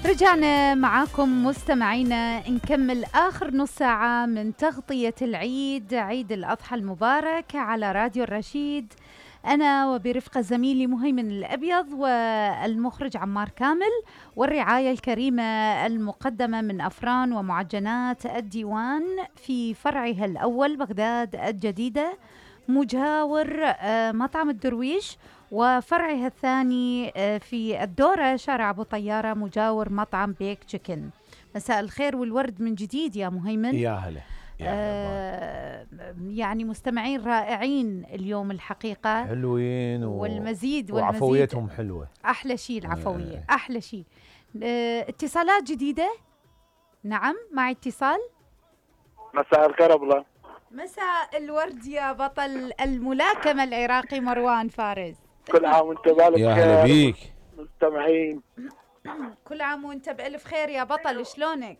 رجعنا معاكم مستمعينا نكمل آخر نص ساعة من تغطية العيد، عيد الأضحى المبارك على راديو الرشيد. أنا وبرفقة زميلي مهيمن الأبيض والمخرج عمار كامل، والرعاية الكريمة المقدمة من أفران ومعجنات الديوان في فرعها الأول بغداد الجديدة مجاور مطعم الدرويش، وفرعها الثاني في الدورة شارع أبو طيارة مجاور مطعم بيك تشيكن. مساء الخير والورد من جديد يا مهيمن. يا هلا. يعني مستمعين رائعين اليوم الحقيقة، حلوين والمزيد وعفويتهم حلوة. أحلى شيء العفوية، أحلى شيء. اتصالات جديدة. نعم معي اتصال. مساء الخير أبله. مساء الورد يا بطل الملاكمة العراقي مروان فارس. كل عام وانت بألف خير. يا هلا بيك. مستمعين كل عام وانت بألف خير يا بطل، شلونك؟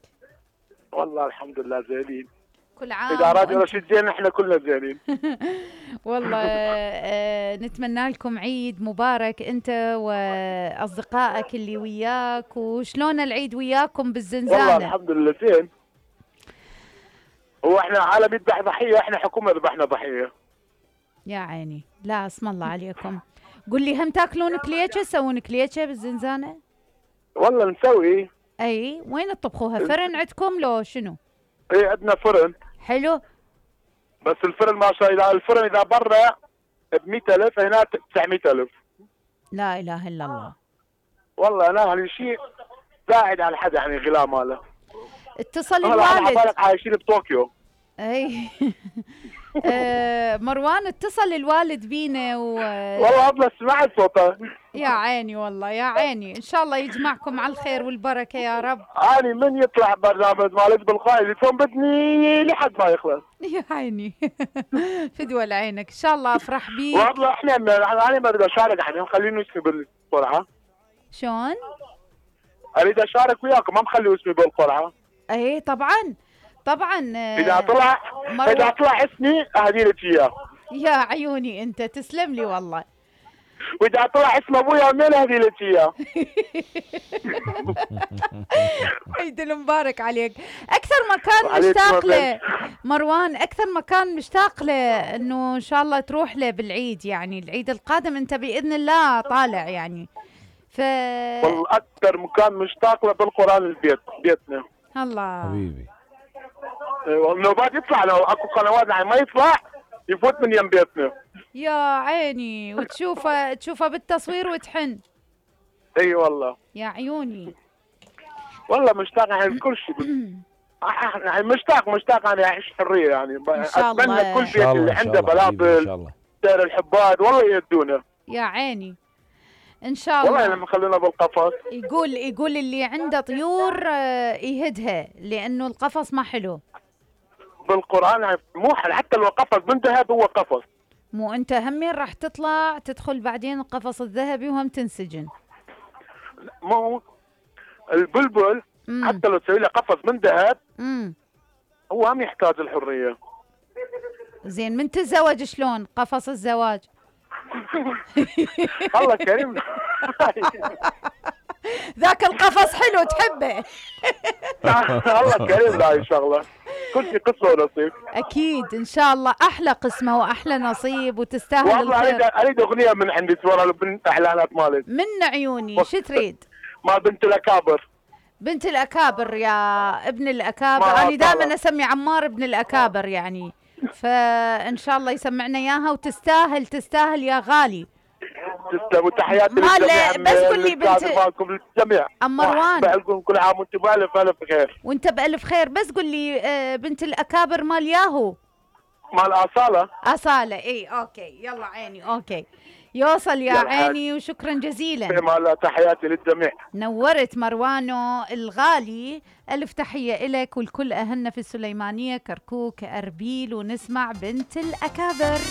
والله الحمد لله زينين. كل عام إذا راديو رشيد زين احنا كلنا زينين. والله نتمنى لكم عيد مبارك انت واصدقائك اللي وياك. وشلون العيد وياكم بالزنزانة؟ والله الحمد لله زين. هو احنا عالم يذبح ضحية، احنا حكومة ذبحنا ضحية. يا عيني، لا اسم الله عليكم. قل لي هم تاكلون كليتشة؟ تسوون كليتشة بالزنزانة؟ والله نسوي. اي وين تطبخوها؟ فرن عندكم لو شنو؟ ايه عندنا فرن. حلو. بس الفرن ما شاء الله، الفرن اذا برا ب100,000 هنا 900,000. لا اله الا الله. والله انا هالشيء زايد على حدا يعني غلا ماله. اتصل الوالد. انا عايشين بطوكيو. اي مروان اتصل الوالد بينا والله ابله سمعت صوته. يا عيني والله يا عيني، ان شاء الله يجمعكم على الخير والبركه يا رب. اني من يطلع برنامج مالك بالقائد يكون بدني لحد ما يخلص. يا عيني فدوى لعينك، ان شاء الله افرح بيك. والله انا ما اريد اشارك، احنا خليني اسمي بالقرعه. شلون؟ اريد اشارك وياكم، ما مخلي اسمي بالقرعه. اي طبعا طبعا. اذا طلع اسمي اهدي لك اياه. يا عيوني انت تسلم لي والله. واذا طلع اسم ابويا ومين اهدي لك اياه. عيد المبارك عليك. اكثر مكان مشتاق له مروان، اكثر مكان مشتاق له انه ان شاء الله تروح له بالعيد، يعني العيد القادم انت باذن الله طالع يعني. والله اكثر مكان مشتاق له بالقران البيت، بيتنا. الله حبيبي. لو بعد يطلع، لو اكو قنوات يعني ما يطلع يفوت من يم بيتنا. يا عيني، وتشوفه بالتصوير وتحن. اي والله يا عيوني. والله مشتاق يعني كل شيء. يعني مشتاق انا اعيش حريه يعني. ان شاء الله. اتمنى كل بيت اللي عنده بلابل سير الحباد والله يدونه. يا عيني ان شاء الله. والله لما خلونا بالقفص. يقول اللي عنده طيور يهدها، لانه القفص ما حلو. بالقران يعني مو حتى لو قفص من ذهب هو قفص. مو انت همين راح تطلع تدخل بعدين القفص الذهبي وهم تنسجن. مو البلبل حتى لو تسوي له قفص من ذهب هو هم يحتاج الحريه. زين من تتزوج شلون قفص الزواج؟ الله كريم. ذاك القفص حلو تحبه. الله كريم. لا ان شاء الله كل شيء قسمه ونصيب. اكيد ان شاء الله احلى قسمه واحلى نصيب وتستاهل والله الخير. اريد اغنيه من عندي تورا بنت اعلانات مالك. من عيوني شو تريد؟ ما بنت الاكابر. بنت الاكابر يا ابن الاكابر. انا دائما اسمي عمار ابن الاكابر يعني، فان شاء الله يسمعنا اياها وتستاهل يا غالي. تسلم وتحياتي للجميع. بس قول لي بنت مالكم للجميع. ام مروان بقلكم كل عام وانتم بألف خير. وانت بألف خير. بس قول لي بنت الاكابر مال ياهو مال أصالة. اي اوكي يلا عيني اوكي يوصل يا عيني. وشكرا جزيلا. تحياتي للجميع. نورت مروانو الغالي. ألف تحية إلك والكل أهلنا في السليمانية، كركوك، أربيل، ونسمع بنت الأكابر.